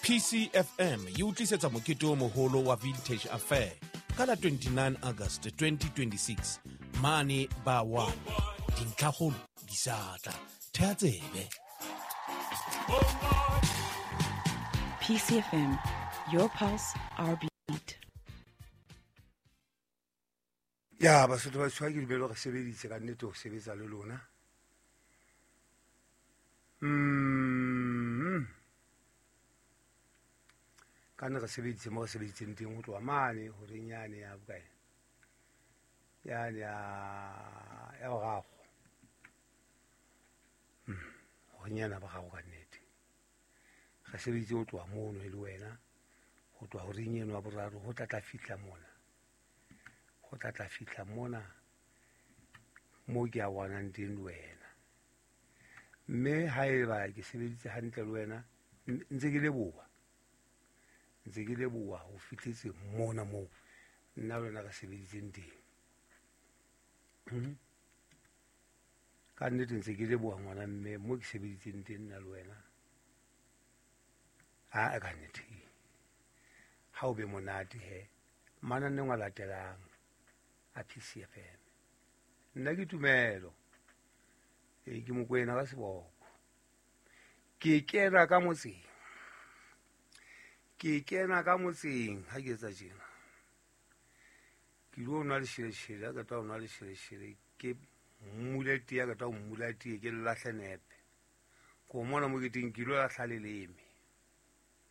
PCFM e utlisetsa mokete o moholo wa Vintage Affair ka la 29 August 2026 mane ba 1. Dintlhakgolo di sa tla. Thea tsebe. PCFM, your pulse, our beat. Ya Basotho ba tshwa ke dumele re sebeditse ka nnete ho sebetsa le lona. Ka nne re sebeditse mo re sebeditseng teng ho tloha mane horeng yane ya bokae, yane ya boraro. Horeng yane ya boraro ka nnete. Re sebeditse ho tloha mono e le wena, ho tloha horeng eno ya boraro ho tla tla fihla mona. Ho tla tla fihla mona mo ke a bonang teng le wena. Mme haeba ke sebeditse hantle le wena, ntse ke leboha. Ntse ke leboha ho fihletse mona moo nna le wena re sebeditseng teng. Ka nnete ntse ke leboha ngwana mme mo ke sebeditseng teng nna le wena. A ka nnete. Ha o be monate he. Mananeng a latelang a PCFM. Nna ke Tumelo. Ke Mokwena ka seboko. Ke kena ka motseng. Ke kena ka motseng ha ke etsa tjena. Ke lo nwa lesheleshele, ha ke tla nwa lesheleshele, ke mmule tee, ha ke tla mmula tee, ke lahle nepe. Ko mona mo ke teng, ke lo lahla leleme.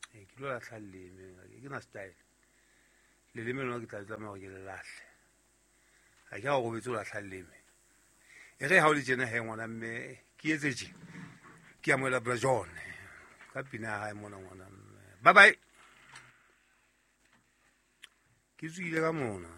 Ke lo lahla leleme, ke na style. Leleme lona ke tla tlameha hore ke le lahle. Ha ke a o robetse o lahla leleme. E re ha o le tjena he ngwana mme, ke etse tje. Ke amohela Bra John. Ka pina ya hae mona ngwana mme. Bye bye. Ke tswile ka mona.